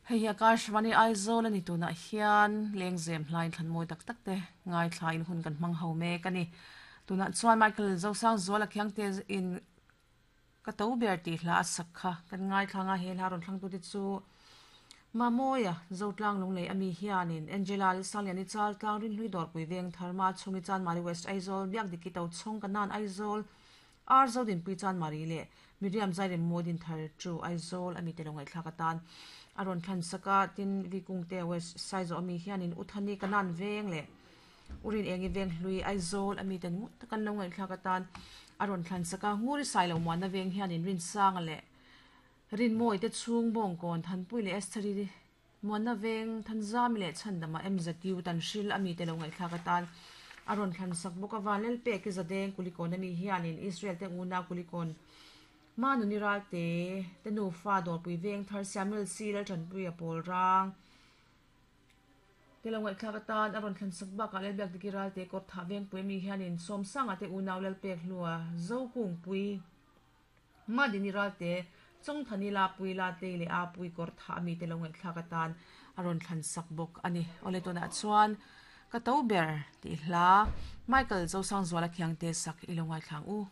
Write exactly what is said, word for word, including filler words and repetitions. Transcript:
Hei hi Akashvani Aizawl ani tunah hian lengzem hlain thlan mawi tak tak te ngaithla in hun kan hmang ho mek ani. Tunah chuan Michael Zosang Zuala Khiangte in ka to ber tih hla a sak kha kan ngaithla nga he hla rawn thlang tu te chu Mamoya Zotlang Lunglei ami hianin Angela Lalsangliani Chaltlang Rinhlui Dawrpui Veng Tharma Chhungi Chanmari West Aizawl Biakdiki Tochhawng Kanan Aizawl Ar Zodinpui Chanmari leh Miriam Zairem Mawi Dinthar Chu Aizawl ami te lo ngaihthlak atan a rawn thlan sak a tin Vikungte West Saizaw ami hianin Uthani Kanan Veng leh Urin Engi Veng Hlui Aizawl ami ten ngut takan lo ngaihthlak atan a rawn thlan sak a Nguri Sailo Muanna Veng hianin Rinsanga leh Rinmawi te chhung Bawngkawn Thanpui leh Estheri Muanna Veng Thanzami leh Chhandama M Z U Tanhril ami te lo ngaihthlak atan a rawn thlan sak bawk a Vanlal Peki Zadeng Kulikawn ami hianin Israel te unau Kulikawn Manuni Ralte te nufa Dawrpui Veng Thar Samuel C Laltanpui a pawl rang te lo ngaihthlak atan a rawn thlan sak bakah Lalbiakdiki Ralte Kawrthah Vengpui ami hianin Sawmsanga te unau Lalpek Hlua Zokungpui Madini Ralte Chawngthani Lapui Latei leh Apui Kawrthah ami te lo ngaihthlak atan a rawn thlan sak bawk ani. Awle tunah chuan ka to ber tih hla Michael Zosang Zuala Khiangte sak i lo ngaithlang u.